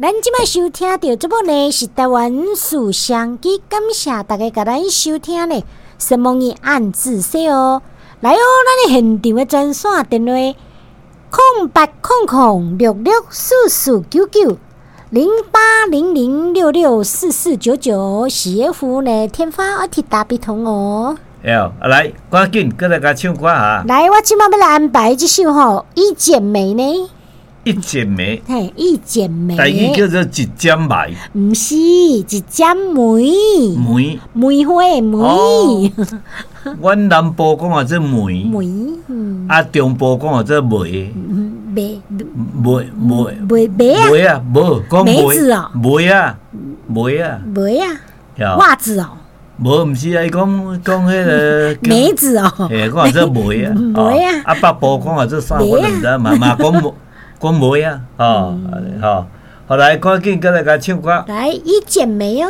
咱這擺收聽著這部呢是台灣事相機，感謝大家共咱收聽呢。什麼語按字說哦，來哦，咱的現場的專線電話：0800664499，0800664499，是一副呢天發我鐵打筆筒哦。哎，來，趕緊閣來共唱歌哈。來，我這擺欲來安排這首吼《一剪梅》呢。一剪梅，嘿，一剪梅，台語叫做一剪梅，毋是一剪梅，梅，梅花的梅。阮南部講號做梅，梅，啊，中部講號做梅，梅，梅梅梅梅啊，梅啊，無講梅子哦，梅啊，梅啊，梅啊，襪子哦，無，毋是啊，伊講講彼个梅子哦，嘿，講號做梅啊，梅啊，啊，北部講號做啥，我就毋知，嘛嘛講。講梅啊，吼，吼，好來，趕緊閣來共唱歌。來，一剪梅哦。